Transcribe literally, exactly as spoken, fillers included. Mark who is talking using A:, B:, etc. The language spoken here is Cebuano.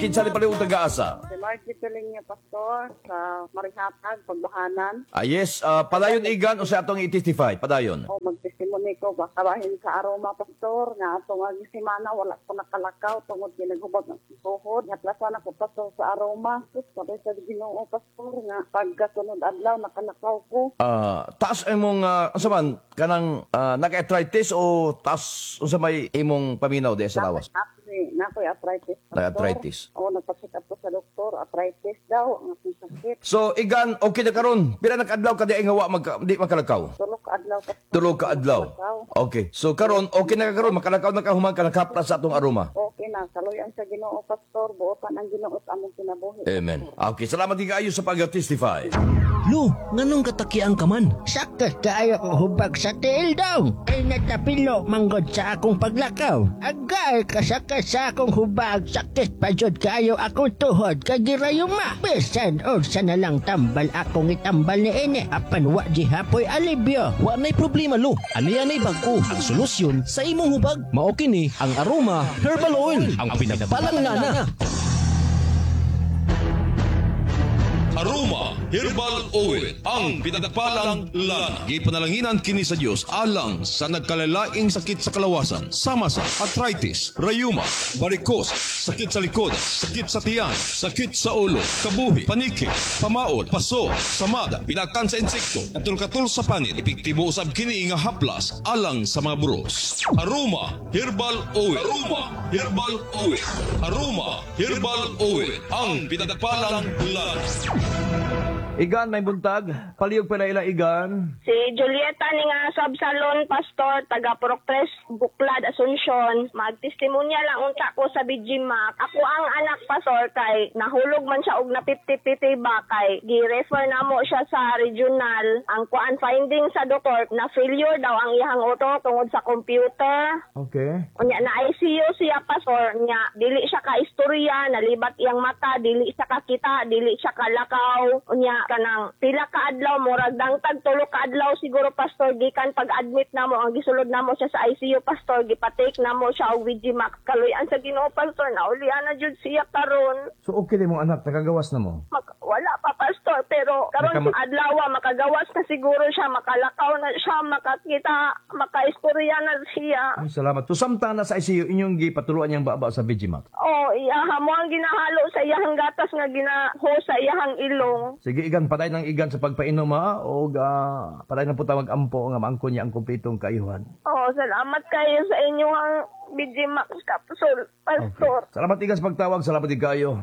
A: Kinsa ni palihog taga-asa?
B: Si Margie Pilinga, Pastor, sa Marihatag, Pagbuhanan.
A: Ah, yes, ah, padayon, Igan, o sa atong i-testify? Padayon.
B: O magtestimony ko, baka bahin sa aroma, Pastor, nga atong ang semana, wala ko nakalakaw, tungod ginaghubag ang tuhod. Haplasan ako, Pastor, sa aroma. Sus, sabay sa Ginoo, Pastor, nga pagkasunod adlaw, nakalakaw ko.
A: Ah, taas imong uh, unsa man kanang uh, naka-arthritis o taas unsa may imong paminaw di sa lawas?
B: Actually, nakoy arthritis, Pastor.
A: Naka-arthritis.
B: O, nagpa-check up ko sa doktor, arthritis daw, ang akong sakit.
A: So Igan, okay na karon. Pila na kaadlaw ka di nga wa magka, di makalakaw?
B: Tulo ka adlaw, Pastor.
A: Tulo ka adlaw.
B: Makalakaw.
A: Okay. So karon okay na ka karon, makalakaw na ka human ka nakaplas sa atong aroma.
B: Okay na, kaluyan sa Ginoo, Pastor, buotan ang Ginoo sa among kinabuhi.
A: Amen. Okay, salamat din kaayo sa pag-testify.
C: Lo, nganong katakiang ka man?
D: Sakit kaayo ko hubag sa tiil daw. Kay natapilo manggod sa akong paglakaw. Agay kasakit sa akong hubag. Sakit pa jud kaayo akong tuhod kay girayuma. Bisan unsa na lang tambal akong itambal ni ini. Apan wa gihapoy alibyo.
C: Wa na'y problema, Lo. Ani anay bag-o ang solusyon sa imong hubag. Mao kini ang Aroma Herbal Oil, ang pinagpalang lana.
E: Aroma Herbal Oil, ang pinagpalang lana. Gipanalanginan kini sa Dios alang sa nagkalalaing sakit sa kalawasan, sama sa arthritis, rayuma, varicose, sakit sa likod, sakit sa tiyan, sakit sa ulo, kabuhi, paniki, pamaod, paso, samad, pilakan sa insekto, katul-katul sa panit. Epektibo usab kini nga haplas alang sa mga buros. Aroma Herbal Oil. Aroma Herbal Oil. Aroma Herbal Oil, ang pinagpalang lana.
A: Igan, may buntag. Palihog pa na ila, Igan.
F: Si Julieta ni nga sub salon pastor taga Purok Tres, Buklad, Asuncion. Magtestimonya lang unta ko sa B G Mac. Ako ang anak, pastor, kay nahulog man siya og napipti-piti ba kay gi-refer namo siya sa regional. Ang kuan finding sa doktor na failure daw ang iyang utok tungod sa computer.
A: Okay.
F: Unya na I C U siya, pastor, nya dili siya ka istorya, nalibat iyang mata, dili siya kakita, dili siya kalakaw. Unya kanang pila ka adlaw, murag dangtag tulo ka adlaw siguro, pastor, gikan pag-admit namo ang gisulod namo siya sa I C U, pastor, gipatake namo siya og V G Max. Kaluyan sa Ginoo, pastor, naulian na jud siya karon.
A: So okay din mong anak, nakagawas na mo?
F: Mak- wala pa, pastor, pero karon
A: Nakama-
F: adlaw makagawas na siguro siya, makalakaw na siya, makakita, makaistorya na siya.
A: Ay, salamat. So samtang na sa I C U, inyong gipatuluan niyang baba sa V G Max?
F: Oh, iyaha mo ang ginahalo sa iyahang gatas nga ginaho sa iyahang ilong.
A: Sige, Igan, patay ng Igan sa pagpainom ha, o uh, patay ng puta mag-ampo nga maangkon niya ang kumpletong kaayuhan.
F: Oh, salamat kayo sa inyong B G Max capsule, pastor.
A: Salamat, Igan, sa pagtawag, salamat din kayo.